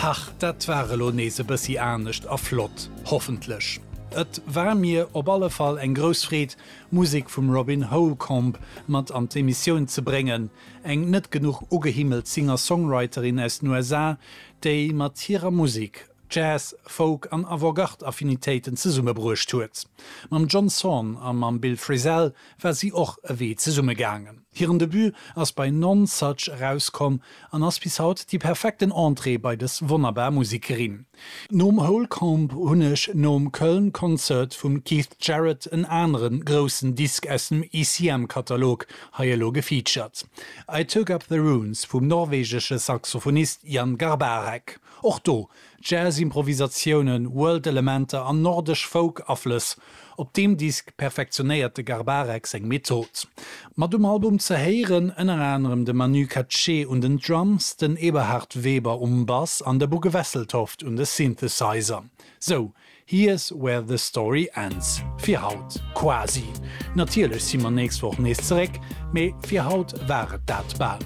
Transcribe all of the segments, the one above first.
Hach, dat war elo nees e bëssi anescht a flott, hoffentlech. Et war mir op alle Fall eng grouss Freed, Musek vum Robin Holcomb mat an d'Emissioun ze bréngen, eng net genuch ugehimmelt Singer-Songwriterin aus den USA, déi mat hirer Musek Jazz, Folk an Avantgarde-Affinitéiten zesummebruecht huet. Mam John Zorn a mam Bill Frisell war si och e Wee zesumme gaangen. Hiren Debut ass bei Nonesuch erauskomm an ass bis haut déi perfekten Entrée bei dës wonnerbar Musekerin. Nom Holcomb hunn ech nom Köln Concert vum Keith Jarrett en anere groussen Disk aus dem ECM-Katalog hei elo gefeatured, I Took Up The Runes vum norwegesche Saxophonist Jan Garbarek. Och do Jazz-Improvisatiounen, World-Elementer an nordesch Folk-Aflëss. Op deem Disk perfektionéiert de Garbarek seng Method. Mat um Album ze héieren ënner anerem de Manu Katché un den Drums, den Eberhard Weber um Bass an de Bugge Wesseltoft un de Synthesizer. Sou, Here's where the story ends. Fir haut. Quasi. Natierlech si mer nächst Woch nees zeréck, mee fir haut war et dat bal.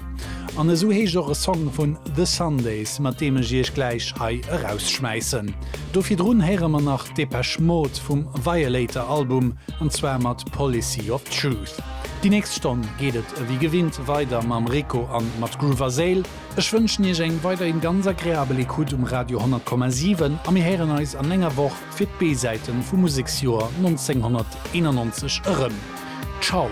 An esou heescht och e Song vun The Sundays, mat deem ech iech gläich hei erausschmäissen. Do virdrun héiere mer nach Depeche Mode vum Violator Album, an zwar mat Policy of Truth. Déi nächst Stonn geet et ewéi gewinnt weider mam Rico an mat Groove a Séil. Ech wënschen iech eng weiderhin ganz agreabel Ecoute um Radio 100,7 a mir héieren eis an enger Woch fir d'B-Säiten vum Museksjoer 1991 erëm. Ciao!